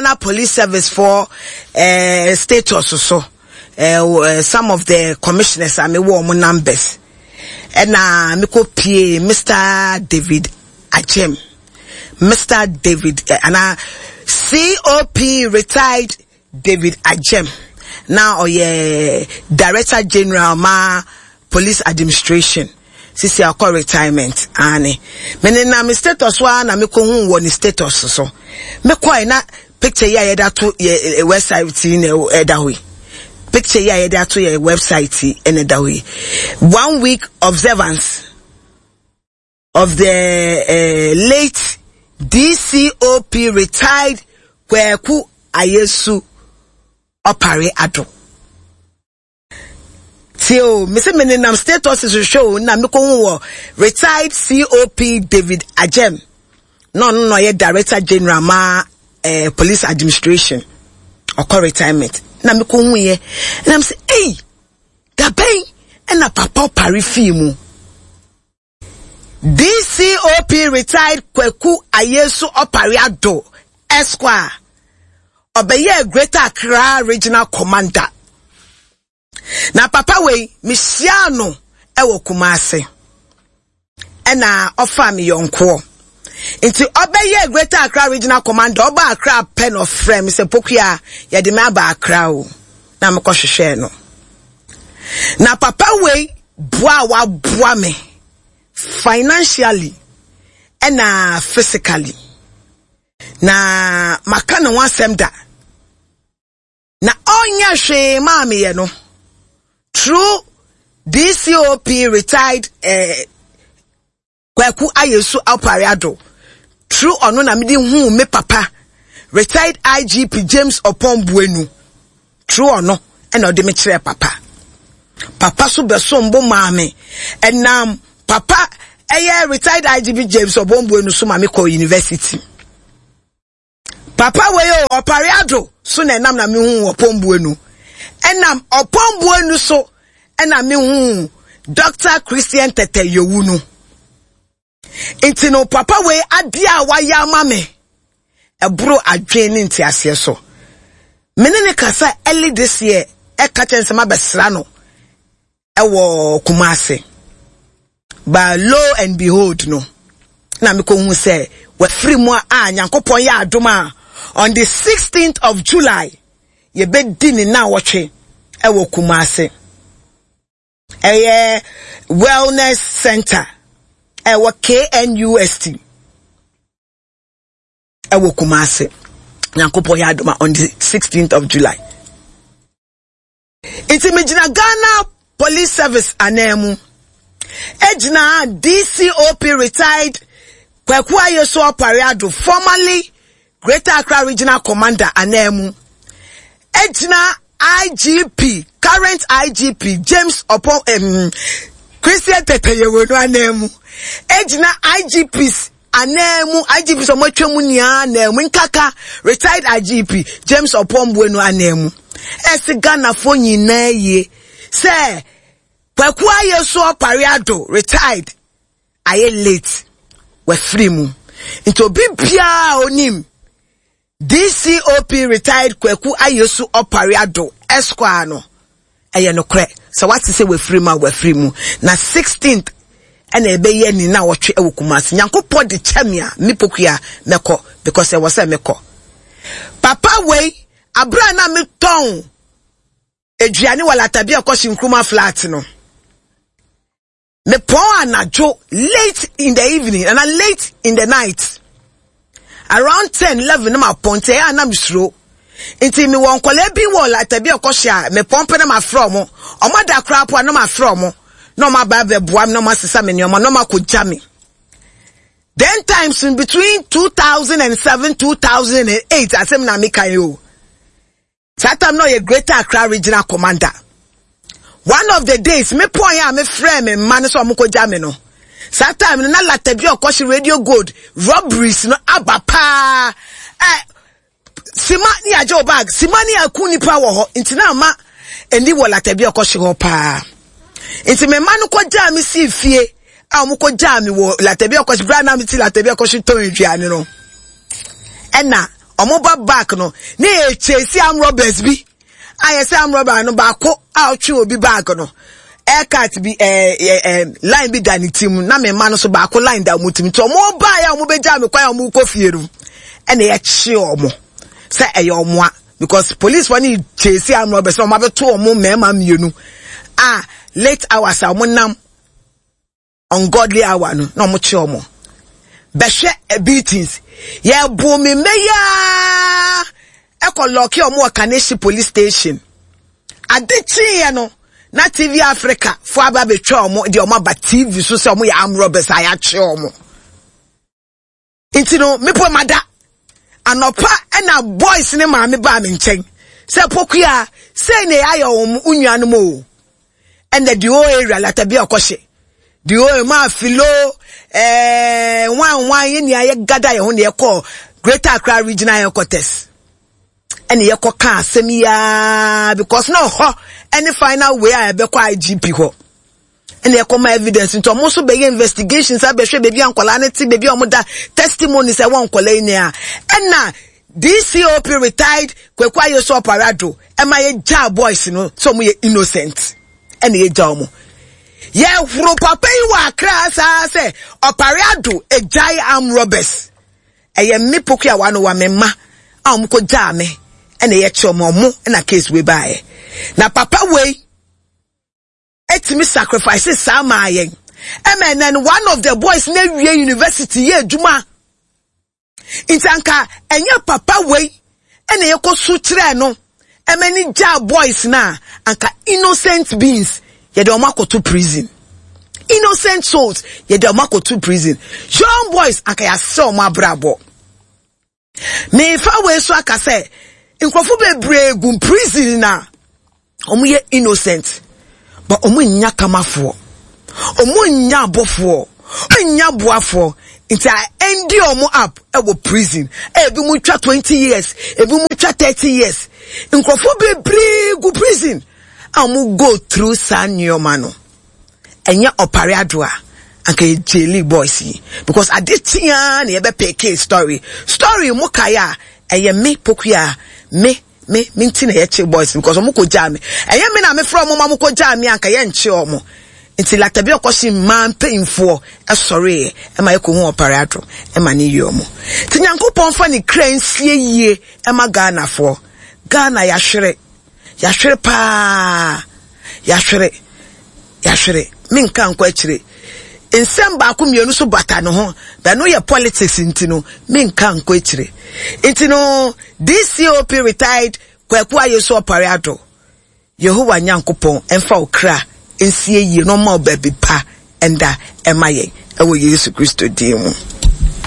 Ghana Police Service for status so. Some of the commissioners a mewɔ wɔn numbers. Ɛna mekɔ pie Mr. David Agyem. Mr. David ana COP retired David Agyem na ɔyɛ Director General ma Police Administration sisi akɔ retirement aane me nenam me status so ara na me kɔ hu wɔ ne status so me kɔɛ na picture yi a yɛde ato yɛ eh, website yi na ɛda hɔ yi picture yi a yɛde ato yɛ website yi na ɛda hɔ yi one week observance of the uh, late DCOP retired Kweku Ayesu Opare Addo. Tie o, me se me nenam status hwehwɛ o na mekɔhu wɔ retired COP David Ajem na ɔno na ɔyɛ director general ma eh, police administration ɔkɔ retirement na mekɔhu yɛ na me se ei dabɛn ɛna papa ɔpare fii mu. DCOP retired Kwaku Ayesu Opare Addo Esquire ɔbɛyɛɛ Greater Accra Regional Commander. Na papa wei mehyiaa no wɔ Kumasi ɛna ɔfaa me yɔnkoɔ. Nti ɔbɛyɛɛ Greater Accra Regional Commander ɔba Accra pɛ na ɔfrɛ me sɛ Pokuya yɛde me aba Accra o na mekɔhwehwɛɛ no. Na papa wei boa a waboa me financially ɛna physically na maka ne ho asɛm da na ɔnyɛ hwee maa meyɛ no through DCOP retired eh, Kwaku Ayesu Alpare Addo through ɔno na mede huu me papa retired IGP James Oppong Boanu through ɔno ɛna ɔde me kyerɛɛ papa. Papa so bɛsom bo maa me ɛnam papa ɛyɛ retired IGP James Oppong Boanu so ma me kɔɔ university. Papa wei o Ɔpare Addo so na ɛnam na mehuu Ɔpɔn Buenu. Ɛnam Ɔpɔn Buenu so ɛna mehuu Dr. Christian Tɛtɛ Yowu no. Nti no papa wei adeɛ a wayɛ ama me ɛboro adwene ne nteaseɛ so. Me ne ne kasa early this year ɛka kyɛn sɛ mabɛsra no ɛwɔ Kumasi. But lo and behold no, na mekɔhu sɛ wafiri mu a Nyankopɔn yɛ adom a on the 16th of July yɛbɛdi ne nnawɔtwe ɛwɔ Kumasi. Ɛyɛ Wellness Center ɛwɔ KNUST ɛwɔ Kumasi. Nyankopɔn yɛ adom a on the 16th of July. Nti megyina Ghana Police Service ananmu gyina DCOP retired Kwaku Ayesu Opare Addo formerly Greater Accra Regional Commander ananmu gyina IGP current IGP James Opon Christian Tetteh Yohuno ananmu gyina IGPs Ananmu, IGP sɛ wɔatwa mu nyinaa ananmu, nkaka retired IGP James Oppong Boanu ananmu. Ɛse Ghanafoɔ nyinaa yie sɛ Kwaku Ayeso Opare Addo retired ayɛ late wafiri mu. Nti obi biara onim DCOP retired Kwaku Ayesu Opare Addo Esquire no, ɛyɛ nokorɛ sɛ wate sɛ wafiri mu a wafiri mu. Na 16th ɛna ɛbɛyɛ ne na wɔtwe ɛwɔ Kumasi. Nyankopɔn de kyɛ me a, me pokua mɛkɔ because ɛwɔ sɛ mekɔ. Papa wei, abere a na metɔn aduane wɔ Latabia kɔhye Nkrumah flat no, Mepɔn anadwo late in the evening ana late in the night around 10 11 na mapɔn nti ɛyɛ a na mesuro nti mewɔ nkɔlaa bi wɔ lata bi a ɔkɔhyɛ a mepɔn pɛ na mafrɛ ɔmo ɔmo ada koraa po a na mafrɛ ɔmo na ɔmo aba abɛboa me na ɔmo asesa me nneɛma na ɔmo akɔgya me then times in between 2007 2008 asɛm na meka yi o. Saa time na ɔyɛ Greater Accra Regional Commander. One of the days, me pɔn a me frɛ me mma no sɛ ɔmo kɔgya me no. Saa time no na Latabi ɔkɔhye Radio Gold robberies no aba paa. Ɛ sima ne agye wo bag, sima ne aku nipa wɔ hɔ. Nti na ama ani wɔ Latabi ɔkɔhye hɔ paa. Nti me mma no kɔgyaa me sii fie a wɔn kɔgyaa me wɔ Latabi ɔkɔhye bere a na me ti Latabi ɔkɔhye tɔn aduane no. Ɛna. Ɔmo ba back no, ne yɛ chase arm robbers bi. A yɛ sɛ arm robber no baako a ɔtwe obi bag no. Aircut bi ɛɛ eh, ɛɛ eh, line bi da ne ti mu na me mma no so baako line da ɔmo ti mu. Nti ɔmo baa yɛ a ɔmo bɛgyaa me kwan a ɔmo kɔ fie no, ɛna yɛkye ɔmo sɛ ɛyɛ ɔmo a because police fo ne chase arm robbers na ɔmo abɛto ɔmo mmarima mmienu a late hours a ɔmo nam ungodly hour no na ɔmo kye ɔmo bɛhwɛ eh, beatings yɛbo me mmɛ yaa ɛkɔ lɔɔke ɔmo wɔ Kaneshie police station ade kyeeɛ no na TV Africa fo aba abɛtwa ɔmo deɛ ɔmo aba TV so sɛ ɔmo yɛ armed robbers a yɛakye ɔmo. Nti no mepo mada. Anɔpa ɛna boys ne maame baa me nkyɛn sɛ Pokuya sei na yɛayɛ wɔn wo nuanom o. Ɛna the whole area latabi ɔkɔhye. The whole maa filo ɛɛ nwan nwan yɛ nea yɛ gada yɛn ho na yɛkɔ Greater Accra Regional Headquarters. Ɛna yɛkɔ ka asɛm yi aa because na ɔhɔ ɛne final way a ɛbɛkɔ IGP hɔ. Ɛna ɛkɔma evidence nti ɔmo nso bɛyɛ investigations abɛhwɛ baabi a nkwadaa no te, baabi a ɔmo da, testimonies ɛwɔ nkwadaa yi nea. Ɛna DCOP retired Kwaku Ayesu Ɔparado ɛma yɛgyaa boys no sɛ ɔmo yɛ innocent. Ɛna yɛgya ɔmo. Yɛhoro papa yi wɔ Accra saa sɛ Ɔparado egyae arm robbers. Ɛyɛ me poku a wano wa me mma a ɔmo kɔ gyaa me ɛna yɛkye ɔmo ɔmo ɛna case wei baeɛ. Na papa wei tumi sacrifice saa maa yɛn. Ɛma ɛnɛ no one of the boys na awie university yɛ adwuma. Nti anka ɛnyɛ papa wei ɛna yɛkɔ so kyerɛɛ no ɛma ne gyaa boys na anka innocent beings yɛde wɔn akɔto prison. Innocent souls yɛde wɔn akɔto prison. Young boys anka yɛasɛ wɔn abrabɔ. Mefa wei so aka sɛ nkurɔfo bebree gu prison na wɔn yɛ innocent but wɔn nnya kamafoɔ, wɔn nnya abɔfoɔ, wɔn nnya boafoɔ nti a ɛndi wɔn up ɛwɔ prison. Ebi mu twa 20 years, ebi mu twa 30 years. Nkurɔfo bebree gu prison a wɔn go through saa nneɛma no. Ɛnyɛ ɔpare ado a anka yɛ jaili boys yi because ade kye ara na yɛbɛ peke story story mo kae a ɛyɛ me pokuya me me me nti na yɛkye boys because ɔmo kɔ gyaa me ɛyɛ me na me frɛ ɔmo ma mo kɔ gyaa me anka yɛnkye ɔmo nti latabi ɔkɔhye mmaa mpanyinfoɔ ɛsɔreeɛ ɛma yɛkɔ hu ɔpare ado ɛma ne yie ɔmo nti nyankopɔn fa ne kra nsie yie ɛma Ghanafoɔ Ghana yɛahwere Yɛahwere paa. Yɛahwere. Yɛahwere. Menka nkɔ akyire. Nsɛm baako mmienu so bata ne ho. Bɛno yɛ politics nti no, menka nkɔ akyire. Nti no, DCOP retired Kwaku Ayesu Opare Addo, Yehowa Nyankopɔn mfa wo kra nsie yie na ɔmma wo baabi pa nda ɛma yɛn ɛwɔ Yesu Kristo din mu.